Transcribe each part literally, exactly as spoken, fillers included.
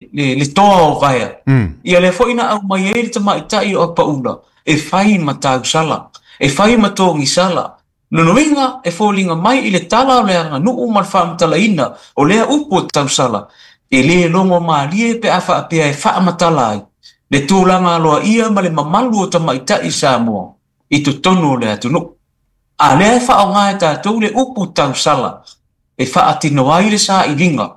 le, le toa o vaea. Mm. Ia lea foi na aumai ai le tamaitai o Apaula e fai ma tausala, e fai ma togisala. Lona uiga e foliga mai i le tala o le aganuu ma le faamatalaina o lea upu o tausala, e lē logo malie pe a faapea e faamatala ai le tulaga aloaia ma le mamalu o tamaitai Samoa i totonu o le atunuu. A lea e faaaoga e tatou le upu tausala e faatino ai le sailiga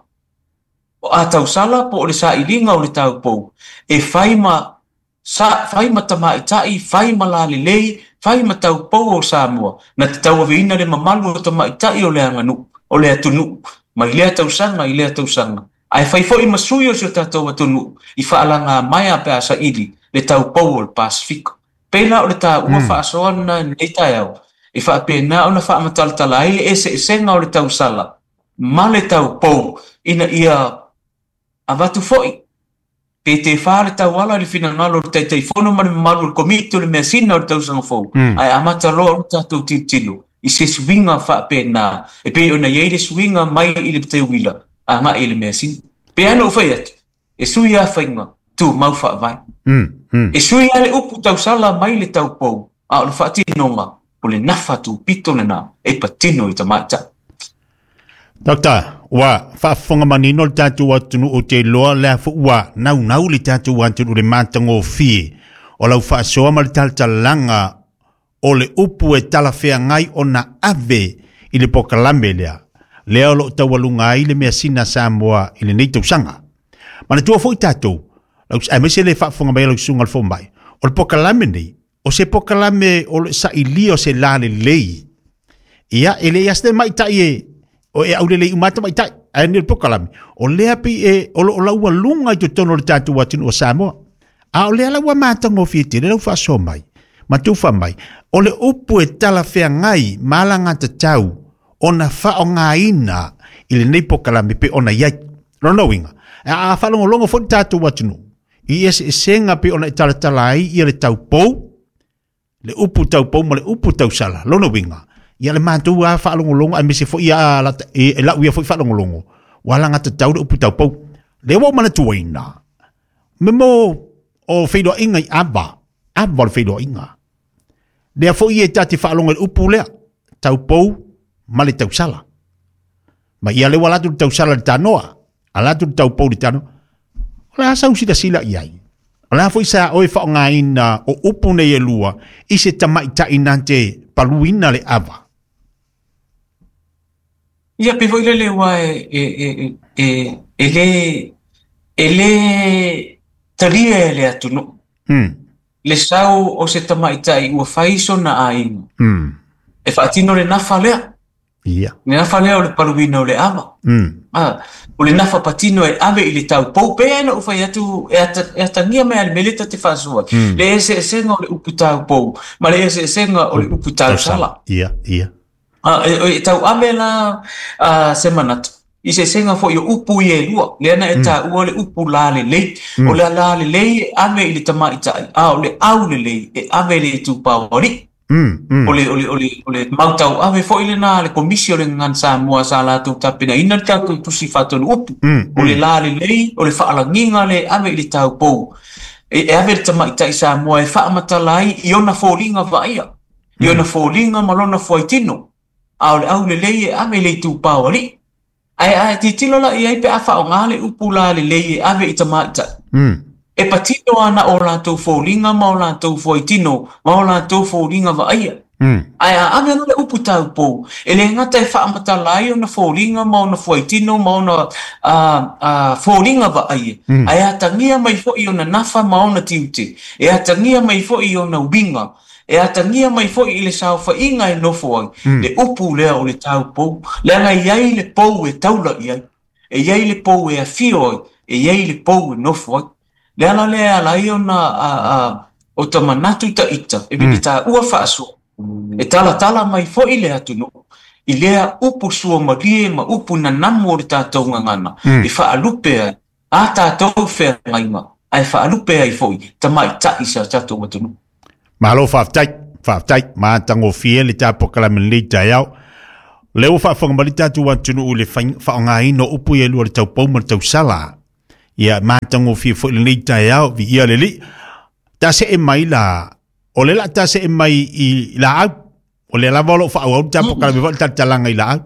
o a tausala po o le sailiga o le taupou e fai ma sa fai ma tamaitai, fai ma lalelei, fai ma taupou o Samoa na te tauaveina le mamalu o tamaitai o le aganuu o le atunuu mai lea tausaga i lea tausaga, ae fai foi ma sui o si o tatou atunuu i faalaga maea pe a saili le taupou o le Pasifika. Pei la o le taua faasoa lena i lenei taeao e faapena ona faamatalatala ai le eseesega o le tausala ma le taupou ina ia avatu foi pe tefa le tauala i le finagalo o le Taitaifono ma le mamalu o le Komiti o le Measina o le tausaga fou, ae amata loa ona tatou tilotilo i se suiga faapena e pei ona i ai le suiga mai i le teuila agai i le measina. Pe ana ou fai atu, e sui lava faiga tumau faavae. E sui lava le upu tausala mai le taupou, a o le faatinoga o le nafa tupito lena e patino i tamaitai. Doctor, ua faafofoga manino le tatou atunuu o te iloa lea foi ua naunau le tatou atunuu le matagofie o lau faasoa ma le talatalaga o le upu e talafeagai ona ave i le pokalame lea lea o loo taualuga ai le measina Samoa i lenei tausaga. Manatua foi tatou, aemaise le faafofoga mai a lau susuga le fomai, o le pokalame nei, o se pokalame o le sailia o se lalelei. Ia, e leai lava se tamaitai e o e aulelei uma lava tamaitai, ae nei o le pokalame, o lea pei e o loo laualuga i totonu o le tatou atunuu o Samoa. A o lea la ua matagofie tele lau faasoa mai, ma tufa mai, o le upu e talafeagai ma alagatatau ona faaaogaina i lenei pokalame pe ona i ai. Lona uiga, a faalogologo foi le tatou atunuu i eseesega pe ona e talatala ai ia le taupou, le upu taupou ma le upu tausala. Lona uiga, ia le matou lava faalogologo aemaise foi ia e lau ia foi faalogologo, ua alagatatau le upu taupou. Lea ua ou manatuaina, me mo o feiloaiga i ava, ava o le feiloaiga. Lea foi e ta te faalogo i le upu lea, taupou ma le tausala. Ma ia lea ua alu atu le tausala i le tanoa, alu atu le taupou i le tanoa. O le a sau silasila i ai? O le a foi sa oe faaaogaina o upu nei e lua i se tamaitai na te paluina le ava? Ia, pei foi lele ua e, e, e, e, e lē e lē talia e le atunuu Mm. le sau o se tamaitai ua fai sona aiga Mm. e faatino le nafa lea, Ia. le nafa lea o le paluina o le ava. Mm. Ah, o le nafa patino e ave i le taupou pe ana ou fai atu e ata, e atagia mai a le mea lea ta te faasoa ai. Mm. Le eseesega o le upu taupou ma le eseesega o le upu tausala. Ia, ia. Ah, e, e tauave la ah, se manatu i se eseesega foi o upu ia e lua lea na e taua le upu lalelei. O le lalelei e ave i le tamaitai, a o le aulelei e ave i le itupa o alii. Mm. Mm. O le, o le, o le, o le mau tauave foi lena a le Komisi o le Gagana Samoa sa latou tapenaina le tatou tusi faatonu upu. Mm. O le lalelei, o le faalagiga le ave i le taupou. E, e ave le tamaitai Samoa e faamatala ai i ona foliga vaaia, i ona foliga ma lona fuaitino. A o le aulelei e ave i le itupa o alii. Ae a tilotilo la i ai pe a faaaoga le upu lalelei e ave i tamaitai. Mm. E patino ana o latou foliga ma o latou fuaitino ma o latou foliga vaaia. Mm. Ae a ave loa le upu taupou, e le gata e faamatala ai ona foliga ma ona fuaitino ma ona a, a, foliga vaaia, Mm. ae atagia mai foi ona nafa ma ona tiute, e atagia mai foi ona uiga, e atagia mai foi i le saofaiga e nofo ai, le upu lea o le taupou, leaga e i ai le pou e taula i ai, e i ai le pou e afio ai, e i ai le pou e nofo ai. Le ala lea e ala ai ona a, a, o ta manatu taita, e mm. taua faasoa, e talatala mai foi le atunuu i lea upu suamalie ma upu nanamu o le tatou gagana, Mm. e faalupe ai a tatou feagaiga, ae faalupe ai foi tamaitai sa tatou atunuu. Malo faafetai, faafetai, matagofie le tapokalame lenei taeao. Lea ua faafofoga mai le tatou atunuu i le faaaogaina o upu ia e lua le taupou ma le tausala. Ia matagofie foi lenei taeao viia le Alii. Ta see mai la o le la ta see mai i laau o le lava o loo faaauau le tapokalame foi le talatalaga i laau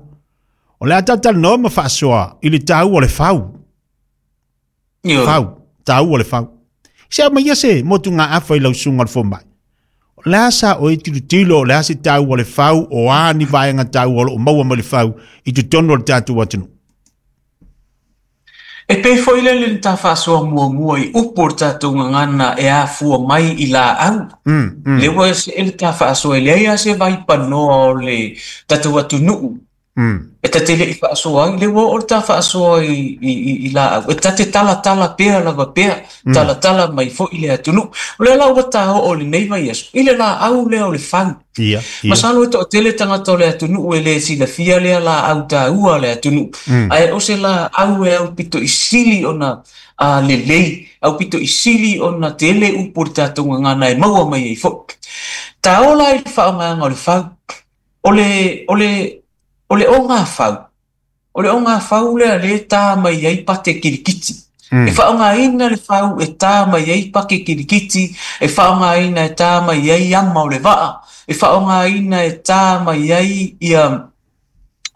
o le a tatalanoa ma faasoa i le taua o le fau fau taua o le fau se au mai ia se motugaafa i lau susuga o le fomai o le a sa oe tilotilo o le a se taua o le fau o a ni vaega taua o loo maua mai le fau i totonu o le tatou atunuu. E pei foi lele le ta faasoa muamua i upu o le tatou gagana e afua mai i laau. Mm, mm. Le ua se le ta faasoa e leai a se vaipanoa o le tatou atunuu. Mm. E tate le'i faasoa ai, le ua oo le ta faasoa i, i, i, i laau. E tate talatala pea lava pea, Mm. talatala mai foi le atunuu. O lea la ua ta oo lenei vaiaso, i le laau lea o le fau. Ia, ia. Masalo e toatele tagata o le atunuu e le silafia lea laau taua le atunuu. Mm. Ae o se laau e aupito i sili ona a lelei, aupito i sili ona tele upu o le tatou gagana e maua mai ai foi. Ta ola i le faaaogaina o le fau. O le, o le, o le ogafau. O le ogafau lea le tā mai ai pate kilikiti. Mm. E faaaogaina le fau e tā mai ai pake kilikiti, e faaaogaina e tā mai ai ama o le vaa, e faaaogaina e tā mai ai ia,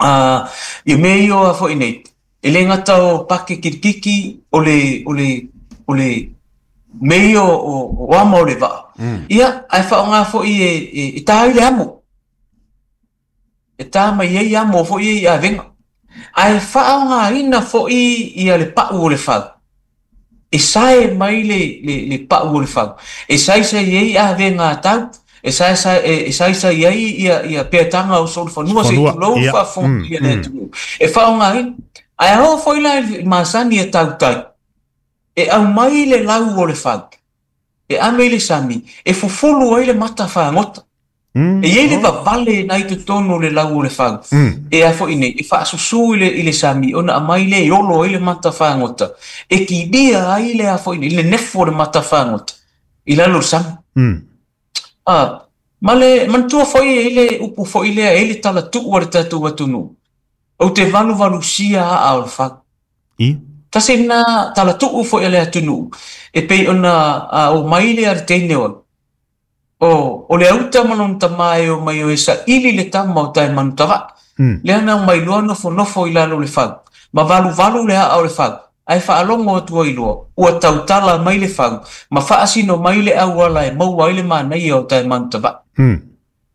uh, ia mea ia o a foi nei. E le gata o pake kilikiki, o le, o le, o le mea ia o, o ama o le vaa. Mm. Ia, ae faaaoga foi e, e, e tā ai le amo. E tā mai ai amo foi e i avega. Ae faaaogaina foi ia le pau o le fau. E sae mai le, le, le pau o le fau. E saisai ai avega a tau, e saisai, e, e saisai ai ia, ia peataga o solofanua, se Fanua, tulou ia. faafofoga Mm, ia le mm. atunuu. E faaaogaina. Ae ao foi la i masani e tautai. E aumai le lau o le fau. E ame i le sami. E fufulu ai le mata fagota. Mm. E iai le Oh. vavale nai totonu o le lau o le fau. Mm. E a foi nei, e faasusū i le, i le sami, ona aumai le e olo ai le mata fagota. E kilia ai le a foi nei, le nefo o le mata fagota. I lalo o le sami. Mm. Ah, ma le manatua foi e i le upu foi lea, e i le talatuu a le tatou atunuu. Ou te valuvalusia aa o le fau. Ia. Tasi na talatuu foi a le atunuu. E pei ona a, o mai le a le teine o O, o le auta ma lona tamā e o mai o e saili le tama o tae manutava'i. Mm. Lea na aumai loa nofonofo i lalo o le fau. Ma valuvalu le aa o le fau. Ae faalogo atu ai loa, ua tautala mai le fau, ma faasino mai le auala e maua ai le manaia o tae manutava'i. Mm.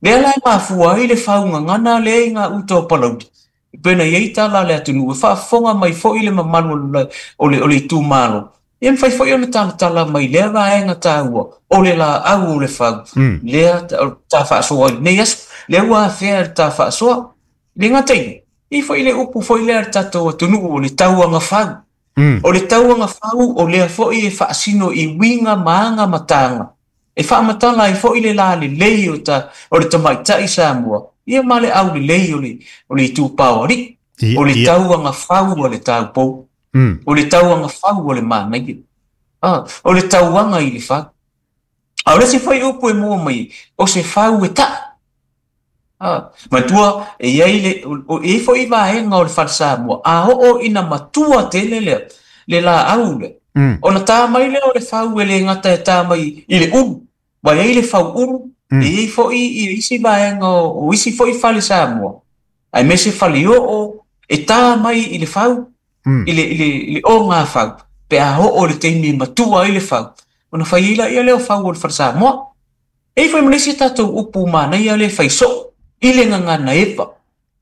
Lea la e mafua ai le fau gagana lea i gauta o Palauli. E pei ona i ai tala a le atunuu, e faafofoga mai foi le mamalu o le, o le, o le itumalo. Ia mafai foi ona talatala mai lea vaega taua, o le laau o le fau. Mm. Lea ta, ta faasoa i lenei aso. Lea ua afea le ta faasoa. Le gata i, i foi le upu foi lea le tatou atunuu o le tauaga fau. Mm. O le tauaga fau o lea foi e faasino i uiga ma aga ma taga. E faamatala ai foi le lalelei o, ta, o le tamaitai Samoa. Ia ma le aulelei o le, o le itupa o alii. Ia, O le ia. tauaga fau o le taupou. Mm. O le tauaga fau o le manaia. Ah, o le tauaga i le fau. A o le isi foi upu e mua mai, o se fau e ta'a. Ah, matua, e iai le, o, o, e iai foi vaega o le fale Samoa. A oo ina matua tele lea, le laau lea. Mm. Ona tā mai lea o le fau e le gata e tā mai i le ulu. Ua iai le fau ulu, Mm. e iai foi i isi vaega o, o isi foi fale Samoa. Aemaise fale oo, e tā mai i le fau, Mm. i le, i le, i le ogafau, pe a oo le taimi e matua ai le fau. Ona fai ai laia lea o fau o le fale Samoa. E i foi ma le isi tatou upu manaia le fai soo, i le gagana eva.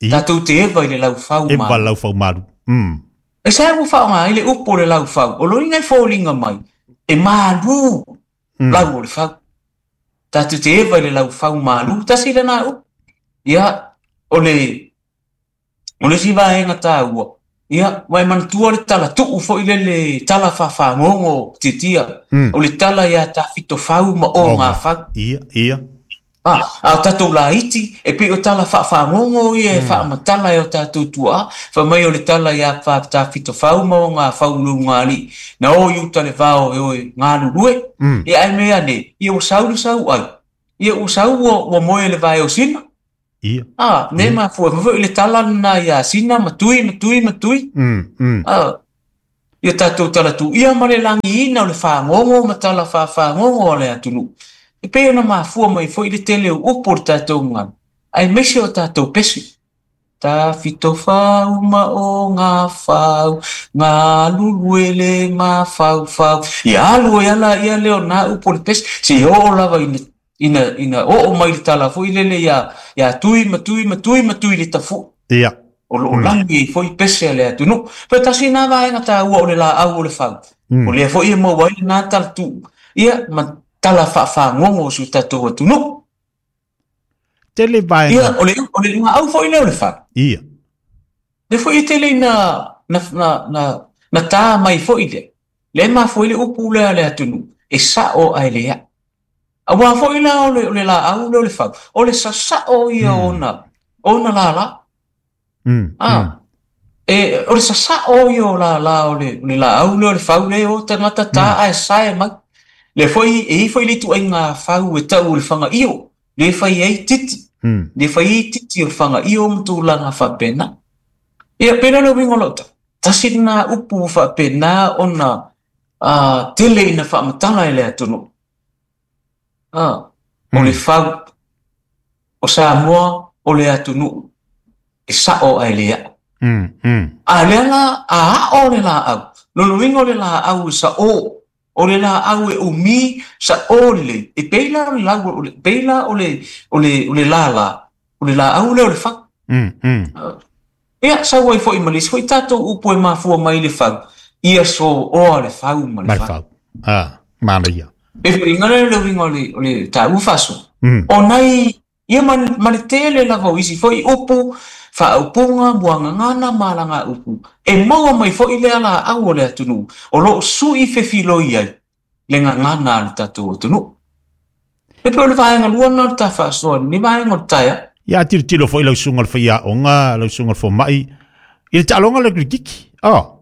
Ia. Tatou te eva i le laufau Eva malu. laufau malu. Mm. E sa ua faaaoga ai le upu o le laufau, o loiga e foliga mai, e malū Mm. lau o le fau. Tatou te eva i le laufau malū, tasi lena upu. Ia, o le, o le isi vaega taua. Ia, ua e manatua le talatuu foi le le tala faafagogo tiatia. Mm. O le tala ia tafitofau ma ogafau. Ia, ia. Ah, a o tatou laiti, e pei o tala faafagogo ia e faamatala e o tatou tuaa, fai mai o le tala ia tafitofau ma ogafau lugalii. Na o i uta le vao e oe galulue. Mm. E ae mea ane, ia ua sau le sau ai. Ia ua sau ua, ua moe le vae o Sina. Ia. Ah, ne mafua, ma foi le tala lena ia Sina, ma tui, ma tui, ma tui. Mm, mm. Ah, Ia tatou talatuia ma le lagiina o le fagogo ma tala faafagogo a le atunuu. E pei ona mafua mai foi le tele o upu o le tatou gagana, aemaise o tatou pese. Tafitofau ma o gafau, galulue le mafaufau. Ia alu ai ala ia lea o na upu o le pese, seia oo lava ina ina ina oo mai le tala foi lele ia ia Tui ma Tui ma Tui ma Tui le Tafu'u. Ia. O loo lagi ai foi pese a le atunuu. Pe tasi na vaega taua o le laau o le fau. O lea foi e maua ai lena talatuu ia ma tala faafagogo o si o tatou atunuu. Tele vaega. Ia, o le o le laau foi lea o le fau. Ia. Le foi e tele ina na na na na tā mai foi lea. Le mafua ai le upu lea a le atunuu, e sa'o ae le a'i. Auā foi la o le o le laau lea o le fau, o le sasa'o ia ona ona lala. Mm. Ah, e o le sasa'o ia o lala o le o le laau lea o le fau lea e o tagata tā ae sae mai. Le foi e i ai foi le ituaiga fau e tau o le fagaio, le fai ai titi. Mm. Le fai ai titi o le fagaio ma tulaga faapena. Ia pei la o le uiga o lau tala, tasi lena upu ua faapena ona uh, tele ina faamatala e le atunuu. Ah, o le fau o Samoa o le atunuu e sa'o ae le a'o. Mm. Mm. A lea la a a'o le laau, lona uiga o le laau e sa'o, o le laau e umi sa'o lelei, e pei la o le lau o le pei la o le o le o le lala, o le laau lea o le fau. Mm. Mm. Ia sau ai foi ma le isi foi tatou upu e mafua mai le fau, ia so'oa le fau ma le Ma le fau. fau. Ah, manaia. E foliga lea o le uiga o le o le taua faasoa. Mm. O nai ia ma ma le tele lava o isi foi upu, faaupuga, muagagana ma alagaupu, e maua mai foi lea laau o le atunuu, o loo su'i fefiloi ai le gagana a le tatou atunuu. E pei o le vaega lua lena o le ta faasoa i lenei vaega o le taeao. Ia tilotilo foi lau susuga o le faiaoga, lau susuga o le fomai, i le taaloga o le kirikiti. Oh.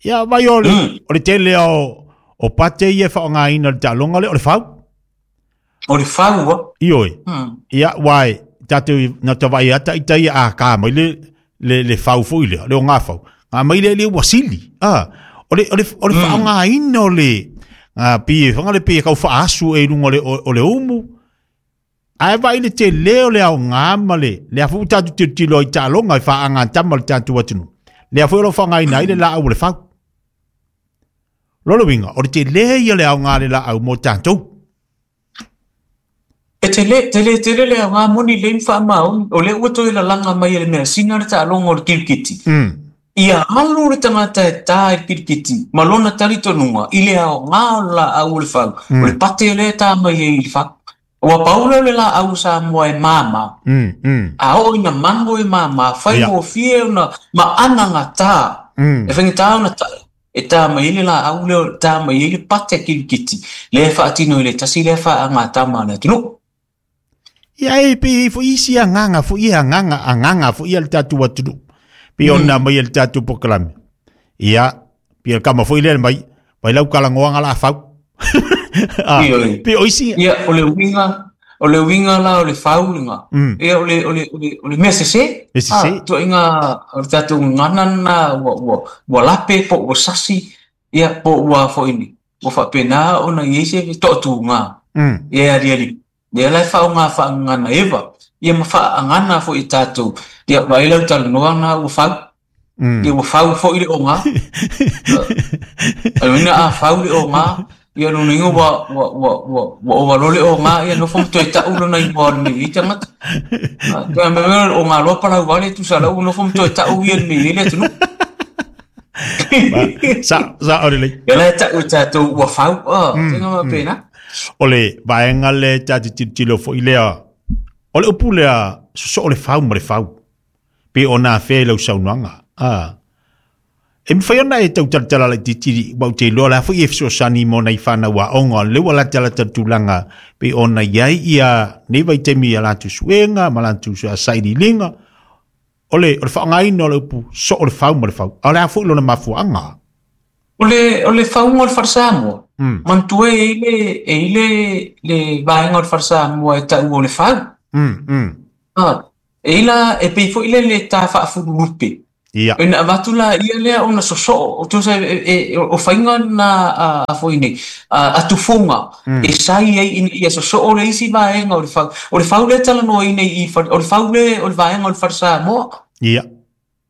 Ia vai o le, Mm. o le tele o, o pate ia e faaaogaina o le taaloga lea o le fau. O le fau a. Ioe. Mm. Ia uae, tatou na tavaai ata ita ia a ka mai le le le fau foi lea, le o ngā fau. Ngā mai le le ua sili. Ah, o le o le o le Mm. faaaogaina o le ngā pie, whanga le pie kau whaasu e lunga o le, o, o le umu. Ae vai le te leo le au ngā ma le, le afu tātou tilotilo i taaloga i whaanga tama le tātou atunu. Le afu o lo whangaina ai le la au o le fau. Lolo winga, o le te lea ia le au ngā le la au mō tātou. E tele tele tele le aoga moni lei ma faamaoni, o lea ua toe lalaga mai e le measina le taaloga o le kirikiti. Mm. Ia alu le tagata e tā i le kirikiti ma lona talitonuga i le aoga o le laau o le fau, o le pate lea e tā mai ai i le fau. Ua pau lea o le laau o Samoa e māmā. Mm. Mm. A oo ina mago e māmā, faigofie ona maana gatā. Mm. E faigata ona ta'i, e tā mai ai le laau lea, tā mai ai le pate kirikiti, lea e faatino i le tasi lea faagatama a le atunuu. Ia e pe i fo isi agaga foi e agaga agaga foi ia le tatou atunuu. Pe ona mai e le tatou polokalame. Ia, pe le kama foi lea mai, mai lau kalagoaga la fau. Ah, Ioe. pe o isi Ia, o le uiga, o le uiga la o le fau lena. Mm. Ia, o le, o le, o le, o le mea sesē. Mea sesē. Ah, ituaiga o le tatou gagana lena ua, ua, ua lape po ua sasi, ia, po ua foi ni, ua faapena ona i ai se toatuga. Mm. Ia e aliali. Lea la e faaaoga faagagana eva, ia ma faaagana foi i tatou. Ia, vaai lau talanoa lena ua fau. Mm. Ia ua fau foi le oga. O le uiga a fau le oga, ia lona uiga ua ua ua ua ua ova loa le oga, ia nofo ma toe ta'u lona igoa o le mea i ai tagata. Toe mea mea o le oga loa palau vale tusa lau ua nofo ma toe ta'u ia le mea i ai le atunuu. Sa sa o le lei. Ia la e ta'u e tatou ua fau, ah, taiga faapena. O le vaega le tatou tilotilo foi lea, o le upu lea sosoo le fau ma le fau. Pe ona afea i lau saunoaga. Ah. E mawhai ona e tau talatala laititi, wau te iloa la foi e fesoasoani mo nai whanau aoga, o le ua latalata le tulaga pe ona i ai ia nei vaitaimi ia latou suega ma latou sailiiliga. O le o le faaaogaina o le upu soo le fau ma le fau. A o le a foi lona mafuaaga. O le o le fauga o le fale Samoa, Mm. manatua e i ai le e i ai le le vaega o le fale Samoa e ta'ua o le fau. Mm. Mm. Ah, e i la e pei foi lea le tā faafululupe. Ia. Ina avatu la ia lea ona sosoo o tusa e, e, o faiga na a, a foi nei a, a tufuga Mm. e sai ai ina ia sosoo le isi vaega o le fau o le fau lea talanoaina i i o le fau le o le vaega o le fale Samoa Ia.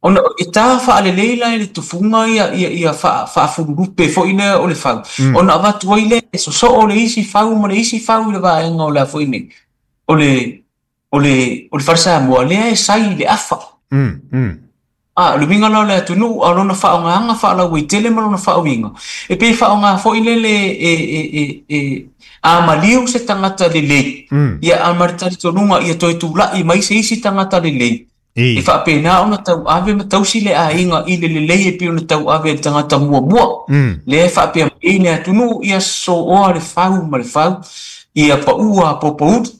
ona e tā faalelei la i le tufuga ia ia ia faa faafululupe foi lea o le fau Mm. ona avatu ai lea e sosoo le isi fau ma le isi fau i le vaega o le a foi nei o le o le o le fale Samoa lea e sai i le afa. Mm. Mm. A, le uiga la o le atunuu a lona faaaogāga faalauaitele ma lona faauiga. E pei faaaogā foi lele e, e, e, e a maliu se tagata lelei. Mm. Ia a ma le talitonuga ia toe tula'i mai se isi tagata lelei. E I. faapena ona tauave ma tausi le aiga i le lelei e pei ona tauave e le tagata muamua. Mm. Lea e faapea mai ai le atunuu ia sooa le fau ma le fau, ia paua popouli.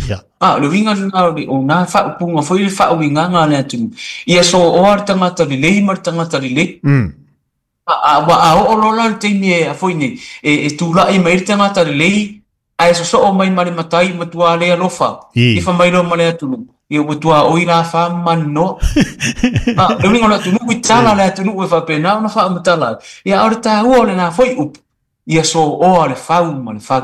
Ia. A, o le uiga lena o le o nā faaupuga foi le faauigaga a le atunuu. Ia sooa le tagata lelei ma le tagata lelei. Mm. A, a, ua a oo loa la le taimi e a foi nei, e, e tula'i mai le tagata lelei, ae sosoo mai ma le matai matua le alofa. I. Ifa mai loa ma le atunuu. Ia ua tuaoi la wha maninoa. A, le uiga o le atunuu i tala le atunuu e faapena ona faamatala ai. Ia a o le tāua o lenā foi upu. Ia sooa le fau ma le fau.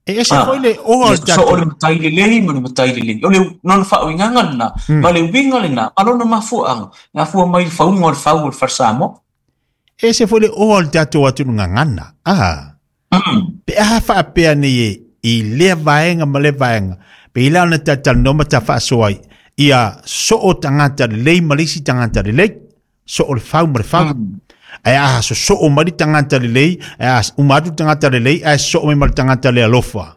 E ese Ah, foi le oa o ia le sosoo tatou. le matai lelei ma le matai lelei. O le lona faauigaga lenā, Mm. ma le uiga lenā, ma lona mafuaaga. E afua mai i le fauga o le fau o le fale Samoa. E ese foi le oa o le tatou atunuu gagana. Ah. Mm. Pe aha faapea nei e i lea vaega ma le vaega. Pe i la ona tatalanoa ma tafaasoa ai. Ia soo tagata lelei ma le isi tagata lelei. Soo le fau ma le fau. Mm. Ae a sosoo mai le tagata lelei, ae a uma atu le tagata lelei, ae soo mai ma le tagata le alofa.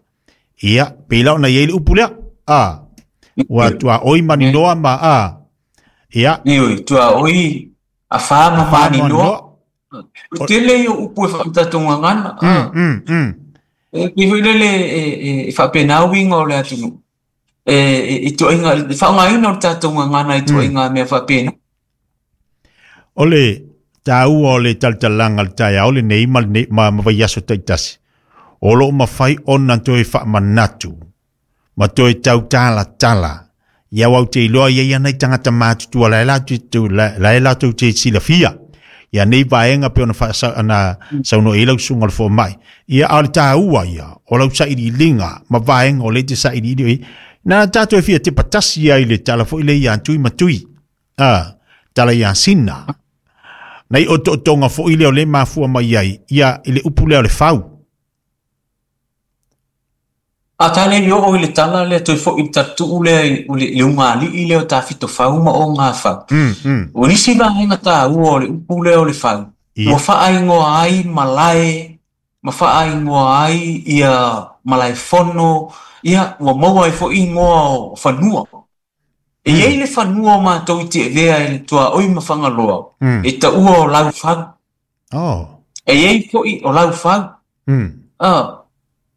Ia, pe i la ona i ai le upu lea. Ah. Ua tuaoi maninoa ma a. Ia. Ioe, tuaoi a wha ma A wha ma maninoa. noa. O tele i o upu e whaamatatou gagana. Mm, Ah. mm, mm. E pei foi lele e, e, e faapena uiga o le atunuu. E, e, i tuaiga, le faaaogaina o le tatou gagana i tuaiga mea faapena. O le tāua o le talatalaga le taeao lenei ma lenei ma, ma vaiaso taitasi. O loo mafai ona toe faamanatu ma toe tautalatala. Ia au te iloa ia ia nei tagata matutua la e latou te- la la e latou te silafia. Ia nei vaega pe ona faasa ana saunoa i lau susuga o le fomai. Ia a o le tāua ia o lau sailiiliga ma vaega o le te sailiili ai. Na tatou e fia te patasi ai le tala foi le ia tui ma tui. Ah, tala ia sina. Nei o to'otoga foi lea o le mafua mai ai ia i le upu lea o le fau. A tā le i oo i le tala lea toe foi i le tatuu lea i o le, le ugalii lea o tafitofau ma o ngā fau. Mm, mm. O nisi vaega tāua o le upu lea o le fau. Ia. Ua faaingoa ai malae, ma faaingoa ai ia malae fono, ia ua maua ai foi ingoa o fanua. E Mm. iai le fanua o mātou i Tiavea i le tuaoi ma Fagaloa, Mm. e taua o Laufau. Oh. E iai foi o Laufau. Mm. Ah,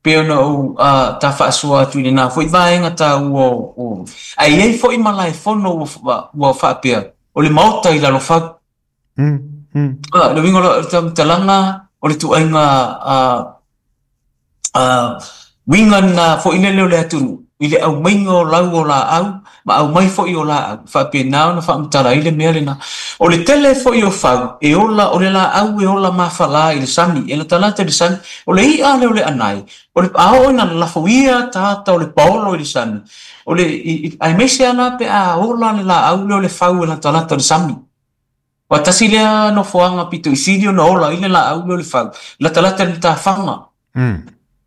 pe ona ou ah, tā faasoa atu i lenā foi vaega tāua o, o. Ae iai foi malae fono ua, ua, ua faapea, o le maota i Lalofau. Mm. Mm. Ah, le uiga o le faamatalaga o le tuaiga ah, ah, uiga na foi lele o le atunuu i le aumaiga o lau o laau ma aumai foi o laau faapena ona faamatala ai le mea lenā. O le tele foi o fau e ola o le laau e ola mafalā i le sami e latalata i le sami o le i'a lea o le anae o le a oo ina lafoia tagata o le paolo i le sami o le i, i, aemaise ala pe a ola le laau lea o le fau e latalata i le sami. Ua tasi lea nofoaga pito i sili ona ola ai le laau lea o le fau latalata i le matafaga. Mm.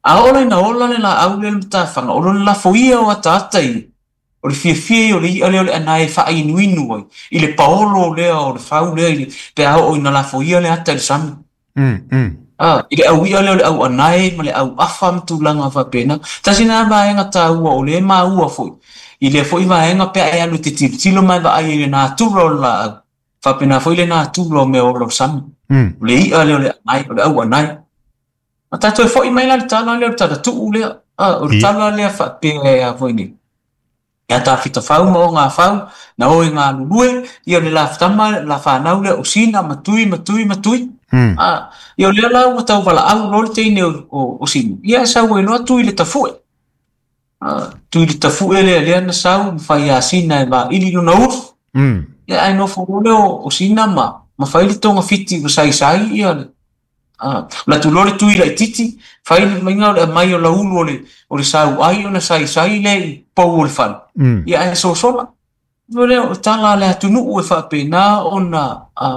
A ola ina ola le laau lea le matafaga, o lona lafoia o ataata ia. O le fiafia ia o le i'a lea o le anae e faainuinu ai i le paolo lea o le fau lea i le pe a oo ina lafoia le ata i le sami. Mm. Mm. Ah, i le aui'a lea o le au anae ma le au afa ma tulaga faapena. Tasi lena vaega tāua o le maua foi. I lea foi vaega pe a e alu te tilotilo ma e vaai i le natura o le laau. Faapena foi le natura o mea ola o le sami. Mm. O le i'a lea o le anae, o le au anae. Ma tātou e foi mai la le tala lea o le talatuu lea. Ah, o le Ia. tala lea faapea e a foi nei. Ia tafitafau ma o ngā fau, na o e ngā lulue, ia o le la tama, la whanau lea o sina, ma tui, ma tui, ma tui. Mm. Ah, ia o lea la ua tau valaau loa le teine o, o, o sina. Ia e sau ai loa tui le tafue. Ah, tui le tafue lea lea na sau, ma whai a sina e vaili lona ulu. Mm. Ia ae nofo loa lea o sina ma ma fai le togafiti ua saisai ia le a o le atu loa le tui laitiiti fai le maiga o le aumai o laulu o le o le sauai ona saisai lea i pou o le fale. Ia ae sosola. O lea o tala a le atunuu e faapena ona a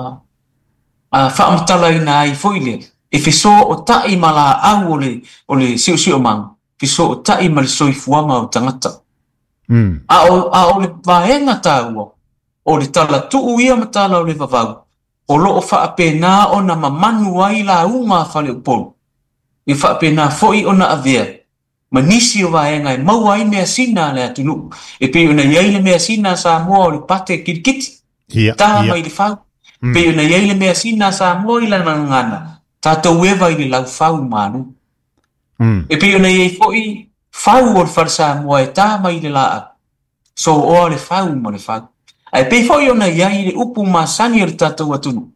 a faamatalaina ai foi lea e fesootai ma laau o le o le siosiomaga, fesootai ma le soifuaga o tagata. A o a o le vaega taua o le talatuu ia ma tala o le vavau o loo faapena ona mamanu ai lauga a faleupolu e faapena foi ona avea ma nisi o vaega e maua ai measina a le atunuu e pei ona i ai le measina a Samoa o le pate kilikiti Ia, tā ia. mai le fau pei ona i ai le measina a Samoa i lana gagana tatou eva i le laufau malu Mm. e pei ona i ai foi fau o le fale Samoa e tā mai le laau sooa le fau ma le fau ae pei foi ona i ai le upu masani o le tatou atunuu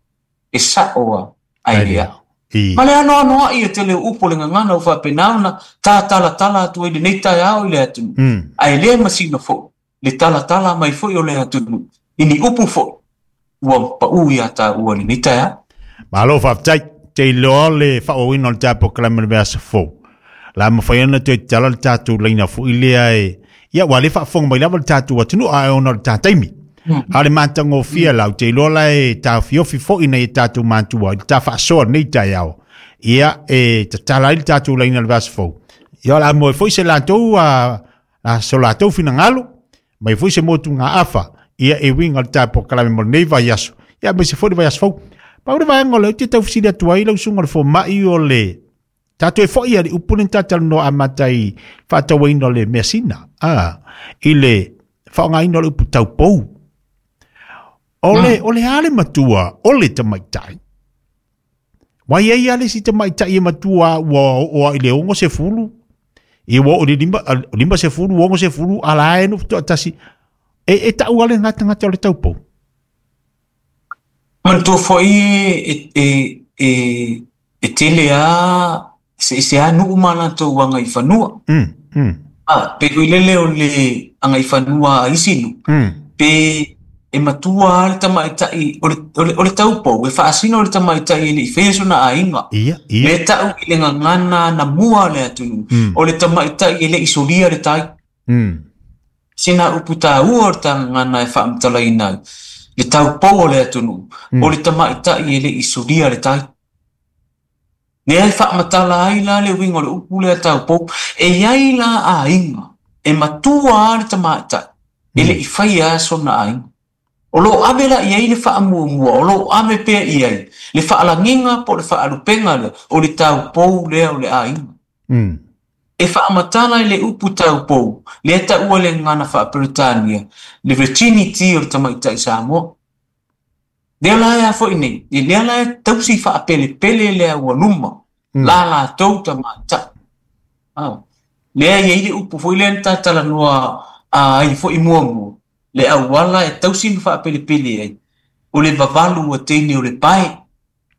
e sa'o a ae lea I. ma le anoanoa'i e tele o upu o le gagana ua faapena ona tatalatala atu ai lenei taeao i le atunuu Mm. ae lē masina fo'i le talatala mai foi o le atunuu i ni upu fo'i ua pa'ū iā tāua i lenei taeao. Malo faafetai. Te iloa le faaauauina o le tatou polokalame le vaiaso fou. La mafai ona toe tatala le tatou laina fo'i lea e ia ua le faafofoga mai lava le tatou atunuu ae ona o le tataimi. A o le matagofie lau te iloa la e taofiofi fo'i nei e tatou matua i le ta faasoa lenei taeao. Ia e tatala ai le tatou laina le vaiaso fou. Ia o le a moe foi se latou a, a so latou finagalo mai foi se motugaafa ia e uiga o le tatou polokalame mo lenei vaiaso. Ia aemaise foi le vaiaso fou. Pau le vaega o lea ou te taufesili atu ai lau susuga o le fomai o le tatou e fo'i ali upu le tatalanoa amata i faatauaina o le measina a i le faaaogaina o le upu taupou. O le o le a le matua o le tamaitai. Wai ai a le si tamaitai e matua ua oo i le ono sefulu i ua oo i le lima, lima sefulu, ono sefulu, ala e no toatasi. E, e tau ale ngata ngata o le taupou. Manatua foi e e e e tele a se se a nuu ma latou agaifanua. Mm, mm, A pe koe lele o le agaifanua a isi nuu mm. pe e matua a le tamaitai o le o le o le taupou e faasino le tamaitai e le'i faia sona aiga. Ia, ia. Le ta'u i le gagana namua o le atunuu Mm, o le tamaitai e le'i solia le tai. mm. Sina upu tāua o le tagagana e faamatalaina ai le taupou o le atunuu Mm. o le tamaitai e le'i solia le tai. Lea e faamatala ai la le uiga o le upu lea taupou e iai la aiga e matua a le tamaitai e le'i faia a sona aiga. O loo ave la i ai le faamuamua o loo ave pea i ai le faalagiga po o le faalupega lea o le taupou lea o le aiga. Mm. E faamatala i le upu taupou lea taua le gagana faaperetania le virginity o le tamaitai Samoa. Lea la e a fo'i nei e lea la e tausi faapelepele le aualuma Mm. la latou tamaitai. Ah. Lea i ai le upu foi lea na tatalanoa ai fo'i muamua le auala e tausi ma faapelepele ai o le vavalu o teine o le pae.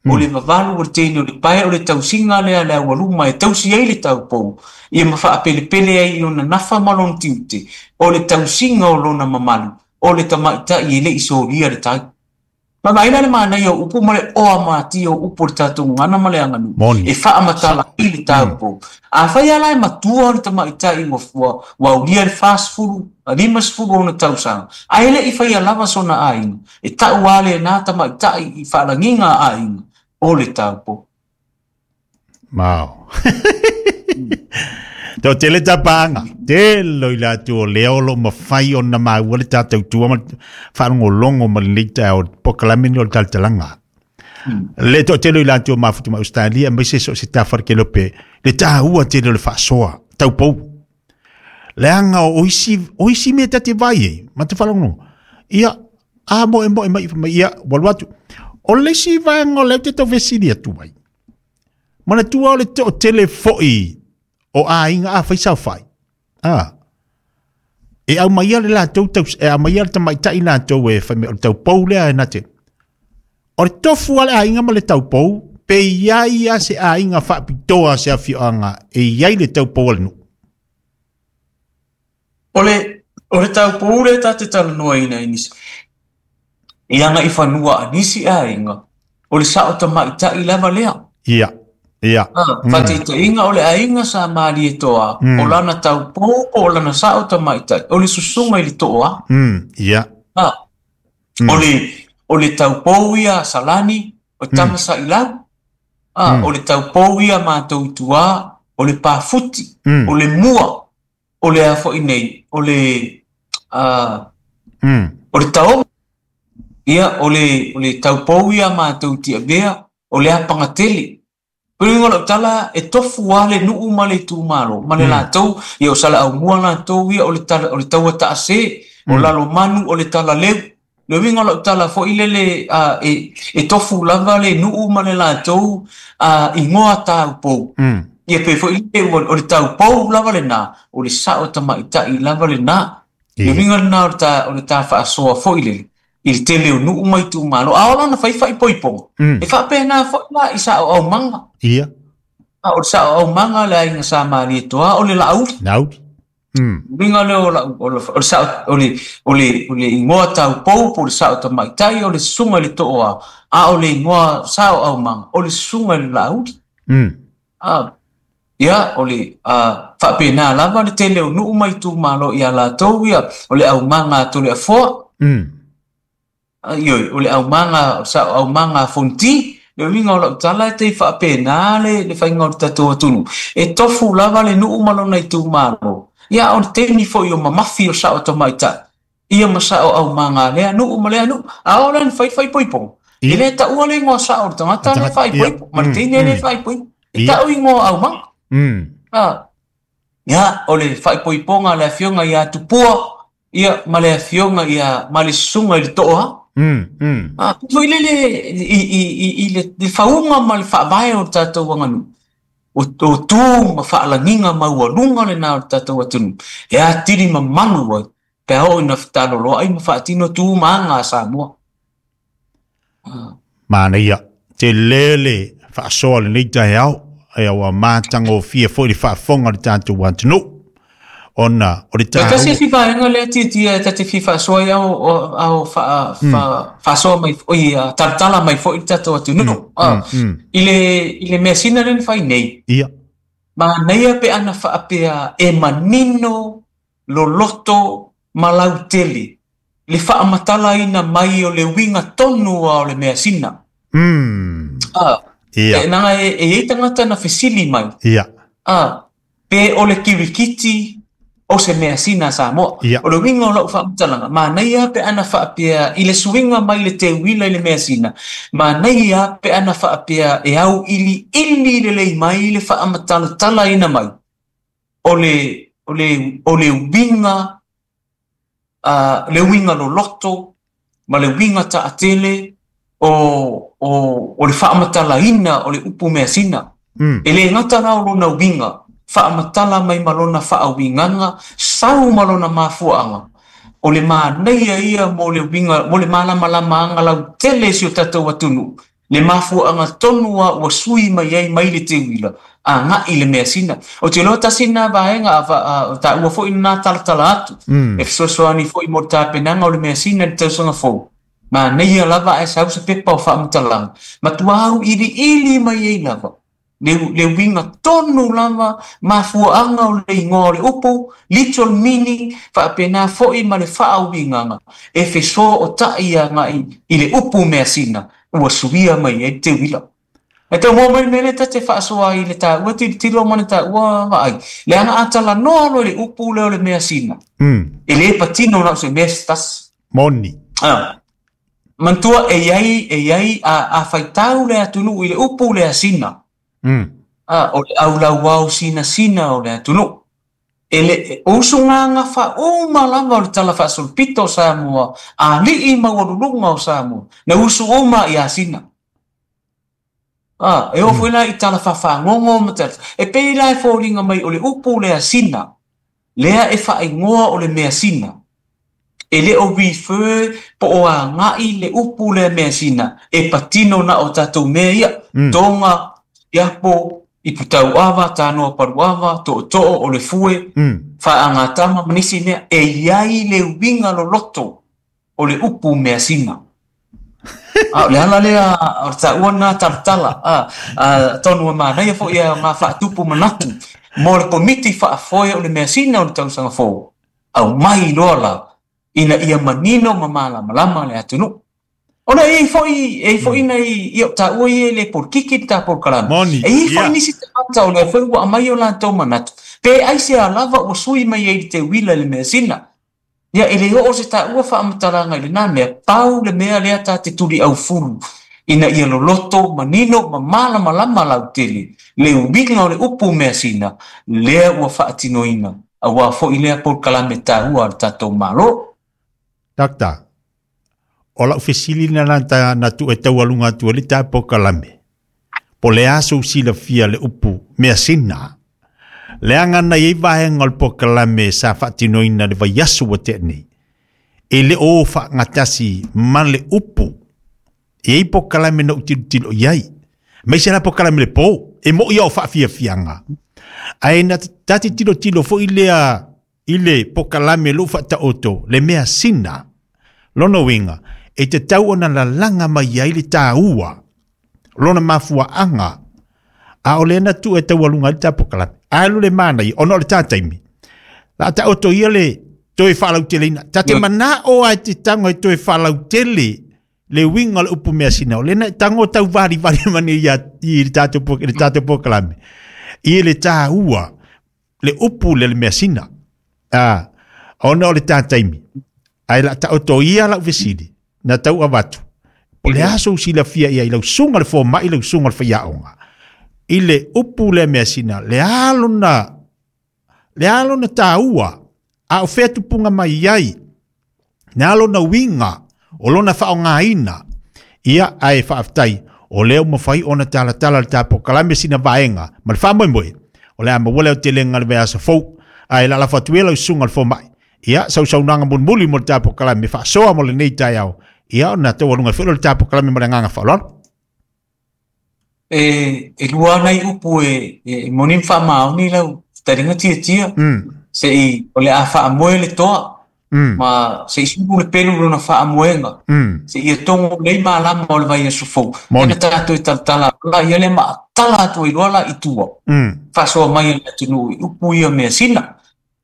O le vavalu o le teine o le pae o le tausiga lea le aualuma e tausi ai le taupou ia ma faapelepele ai i lona nafa ma lona tiute o le tausiga o lona mamalu o le tamaitai e le'i solia le tai. Ma vaai la le manaia o upu ma le oa matia o upu o le tatou gagana ma le aganuu Moni. e faamatala ai le taupou. Afai a la e matua o le tamaitai ua ua ua aulia le fasefulu lima sefulu ona tausaga ae le'i faia lava sona aiga e ta'u a lenā tamaitai i faalagiga a aiga o le taupou. Mao. Tau tele tapaanga. Telo i latu o lea o lo mawhai o na maua le tātou tua ma whaalongolongo ma le neita o polokalame ni o le talatalanga. Le to tele i latu o mafutu ma Australia mai se so se tawhara ke lope. Le tāua tele o le whaasoa. Taupou. Leanga o isi, o isi mea tate vai e. Ma te whaalongo. Ia, a mo e mo e mai mai ia, walu atu. O le isi vaenga o leo te tau vesili atu ai. Mana tua o le to tele foi o aiga a whaisau whai. Ah. E au mai le latou tau, e au mai le tamaitai latou e whai me o le taupou lea e nate. O le tofu a le aiga ma le taupou, pe iai a se aiga whaapitoa se awhioanga e iai le taupou a le nuu. O le o le taupou lea ta te talanoaina e nisi. I aga i fanua a nisi aiga, o le sao tamaita'i lava lea. Ia. Ia. Faataitaiga o le aiga sa Malietoa, o lana taupou po o lana sao tamaita'i, o le susuga i le Tooa. Ia. O le o le taupou ia Salani, o tama Sa'ilau. O le taupou ia matou i tua, o le Pafuti, o le Mua, o le a foi nei, o le o le Taoga. Ia, o le o le taupou ia matou i Tiavea, o le Apagatele. O le uiga o lau tala, e tofu lava le nuu ma le itumalo, ma le latou, ia o Salaaumua latou ia, o le tala, o le taua taase, o Lalomanu, o le Talaleu. Le uiga o lau tala foi lele, e, e tofu lava le nuu ma le latou igoa taupou. Ia pe foi lele, o le taupou lava lena, o le sao tamaita'i lava lena. Le uiga lena o le ta, o le ta faasoa foi lele, i le tele o nuu ma itumalo. A ola na fai faaipoipoga, e faapena foi la i sao aumaga. Ia. A o le sao aumaga le aiga sa Malietoa, o le Laauli. Laauli. Uiga lea o lau, o le, o le sao, o le, o le, o le igoa taupou po o le sao tamaita'i, o le susuga i le Tooa, a o le igoa sao aumaga, o le susuga i le Laauli. A, ia, o le faapena lava le tele o nuu ma itumalo ia latou ia, o le aumaga a Toleafoa. Ioe, o le aumaga, sao aumaga a Fonti. Le uiga o lau tala e te faapena le, le faiga o le tatou atunuu. E tofu lava le nuu ma lona itumalo. Ia, o le taimi foi o mamafi o sao tamaita'i, ia ma sao aumaga lea nuu ma lea nuu. A o le na fai faaipoipoga. E le taua le igoa sao o le tagata le faaipoipo, ma le teine le faaipoipo. E tau igoa aumaga. A, ia, o le faaipoipoga le afioga ia Tupua, ia, ma le afioga ia, ma le susuga i le Tooa. Ah, foi lele i i i i le fauga ma le faavae o le tatou aganuu. O o tu ma faalagiga maualuga lena o le tatou atunuu. E atili mamalu ai, pe a oo ina fetaloloai ma faatino tu ma aga a Samoa. Manaia, tele le faasoa lenei taeao, ia ua matagofie foi le faafofoga o le tatou atunuu. Ona o le taua. Tasi isi vaega lea tiatia e ta te fia faasoa ai ao ao faasoa mai oi talatala mai foi le tatou atunuu. I le i le measina lea na fai nei. Ia. Manaia pe ana faapea e manino loloto ma lautele le faamatalaina mai o le uiga tonu a o le measina. Ah, Ia. E naga e e iai tagata na fesili mai. Ia. Ah, pe o le kirikiti o se measina a Samoa. Ia. O le uiga o lau faamatalaga, manaia pe ana faapea i le suiga mai le teuila i le measina, manaia pe ana faapea e au ili ili lelei mai le faamatalatalaina mai o le o le o le uiga, le uiga loloto ma le uiga taatele o o o le faamatalaina o le upu measina. E le gata la o lona uiga, faamatala mai ma lona faauigaga, sau ma lona mafuaaga. O le manaia ia mo le uiga, mo le malamalamaaga lautele si o tatou atunuu. Le mafuaaga tonu a ua sui mai ai mai le teuila, aga'i le measina. O te iloa tasi lena vaega a taua foi lena talatala atu. E fesoasoani foi mo le tapenaga o le measina i le tausaga fou. Manaia lava ae sau se pepa o faamatalaga. Matua au iliili mai ai lava. Le, le uiga tonu lava, mafuaaga o le igoa o le upu, literal meaning, faapena foi ma le faauigaga, e fesoota'i aga'i i le upu measina, ua suia mai ai le teuila. E tau mua mai le mea lea ta te faasoa ai i le taua tilotilo ma le taua vaai. Leaga a talanoa loa i le upu lea o le measina, e le patino na o se mea se tasi. Moni. Ah. Manatua e iai, e iai a, a faitau le atunuu i le upu lea sina. Ah, o le aulauao sinasina o le atunuu. E le, o usugaga faauma lava o le tala faasolopito o Samoa, alii maualuluga o Samoa, na usu uma ia sina. Ah, e oo foi la i tala faafagogo ma tala. E pei la e foliga mai o le upu lea sina, lea e faaigoa o le measina. E le o refer po o aga'i le upu lea measina, e patino na o tatou mea ia. Toga, siapo, iputauava, tanoa paluava, tootoo o le fue, faagatama ma nisi mea, e iai le uiga loloto o le upu measina. A o le ala lea o le taua lena talatala a tonu e manaia fo'i e aogā faatupu manatu mo le Komiti Faafoe o le measina o le tausaga fou aumai loa la ina ia manino ma malamalama le atunuu. Ona e iai fo'i e iai fo'i nai ia o taua ia e le polokiki le ta polokalame. E iai fo'i nisi tagata o lea foi ua aumai o latou manatu pe aisea lava ua sui mai ai i le teuila i le measina. Ia e le oo se taua faamatalaga i lena mea pau le mea lea ta te tuliaufulu ina ia loloto manino ma malamalama lautele le uiga o le upu measina lea ua faatinoina auā fo'i lea polokalame taua a le tatou Malo. Doctor, o lau fesili na na na tu e taualuga atu ai le ta polokalame. Po le a sou silafia le upu measina. Leaga na iai vaega o le polokalame sa faatinoina le vaiaso ua tea nei. E le o faagatasi ma le upu. E iai polokalame na ou tilotilo i ai. Aemaise la polokalame le po. E mo'i o faafiafiaga. Ae na ta te tilotilo fo'i lea i le polokalame lou faataoto le measina. Lona uiga e tatau ona lalaga mai ai le taua lona mafuaaga a o lea na tuu e taualuga ai le ta polokalame. Alu le manaia ona o le ta taimi. La taoto ia le toe faalauteleina. Ta te mana'o a e te tago e toe faalautele le uiga o le upu measina. O lea na e tago tauvalivali mai ia i le tatou le tatou polokalame. I le taua le upu le le measina. A ona o le ta taimi. Ae la taoto ia lau fesili na tau avatu. Po le a sou silafia ia i lau susuga le fomai lau susuga le faiaoga. I le upu le measina le a lona le a lona taua a o fea tupuga mai ai. Le a lona uiga o lona faaaogaina. Ia ae faafetai o lea ua mafai ona talatala le ta polokalame sina vaega ma le faamoemoe o le a maua le aotelega le vaiaso fou. Ae lalafo atu ia lau susuga le fomai. Ia sausaunoaga mulimuli mo le ta polokalame faasoa mo lenei taeao. Ia ona taualuga ai foi lea o le ta polokalame ma le agaga faaaloalo. E e lua nai upu e e moni ma faamaoni lau taliga tiatia. Mm. Se'i o le a faamoe le toa Mm. ma se'i sulu le pelu lona faamoega. Mm. Seia togo lelei malama o le vaiaso fou. Moni. Ia na tatou e talatala la ia lea ma tala atu ai loa la i tua. Mm. Faasoa mai e le atunuu i upu ia measina.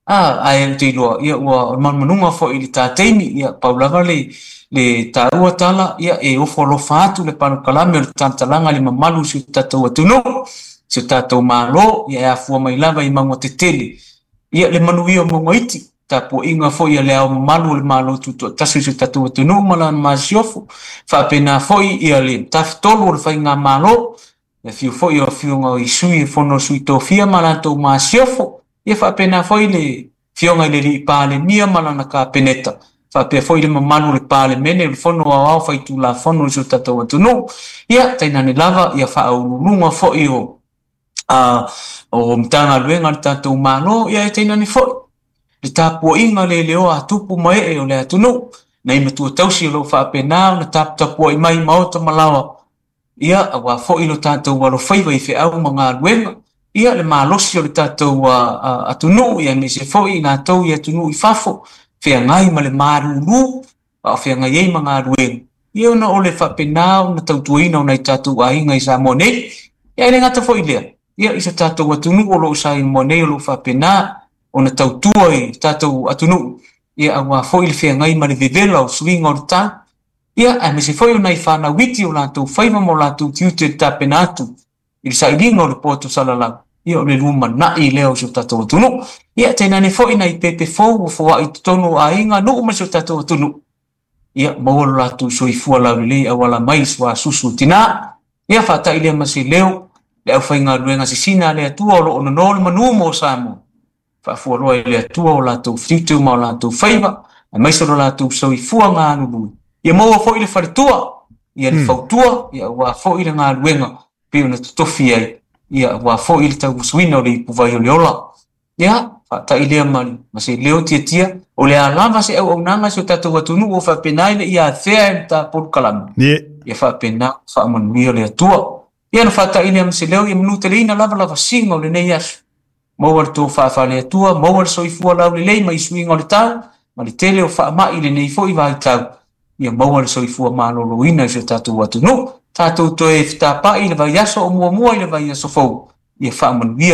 A ae ou te iloa ia ua o le manumanuga fo'i i le ta taimi ia pau lava le le taua tala ia e ofo alofa atu le polokalame o le talatalaga i le mamalu o si o tatou atunuu si o tatou Malo ia e afua mai lava i mauga tetele ia le manuia o mauga iti tapuaiga fo'i a le ao mamalu o le Malo Tutoatasi o si o tatou atunuu ma lana masiofo faapena fo'i ia le tafatolu o le faigamalo le afio fo'i o afioga i sui e fono o sui tofia ma latou masiofo ia faapena fo'i le afioga i le alii Palemia ma lana Kapeneta faapea fo'i le mamalu o le Palemene o le Fono Aoao Faitulafono o si o tatou atunuu ia tainane lava ia faauluuluga fo'i o a o Matagaluega a le tatou Malo ia e tainane fo'i le tapuaiga leleoa a tupu ma ee o le atunuu nai matua tausi o loo faapena ona taputapuai mai maota ma laoa ia auā fo'i lo tatou alofaiva i feau ma galuega ia le malosi o le tatou atunuu ia aemaise fo'i i latou i atunuu i fafo feagai ma le malūlū a o feagai ai ma galuega ia ona o le faapena ona tautuaina o nai tatou aiga i Samoa nei. Ia e le gata fo'i lea ia i so tatou atunuu o loo Samoa nei o loo faapena ona tautua i tatou atunuu ia auā fo'i le feagai ma le vevela o suiga o le tau ia aemaise foi o nai fanau iti o latou faiva ma o latou tiute i le tapena atu i le sailiga o le poto salalau ia o le lumanai lea o si o tatou atunuu. Ia tainane fo'i nai pepe fou ua foa'i i totonu o aiga nuu ma si o tatou atunuu ia maua lo latou soifua laulelei auala mai i suasusu o tinā. Ia faata'i lea ma se leo le aufaigaluega sisina a le Atua o loo nono le manū mo Samoa faafualoa i le Atua o latou tiute ma o latou faiva aemaise o lo latou soifua galulue ia maua fo'i le faletua ia le Mm. fautua ia auā fo'i le galuega pei ona totofi ai ia auā fo'i le tauasuina o le ipuvai o le ola. Ia faata'i lea ma ma se leo tiatia o le a lava se auaunaga i si o tatou atunuu o faapena ina ia afea e le ta polokalame Ie. ia faapena faamanuia le Atua. Ia na faata'i lea ma se leo ia manuteleina lava lavasiga o lenei aso maua le tofa faale Atua maua le soifua laulelei mai suiga o le tau ma le tele o faama'i i lenei fo'i vaitau Ia maua le soifua maloloina i si o tatou atunuu. Tatou toe fetapa'i i le vaiaso o muamua i le vaiaso fou. Ia faamanuia.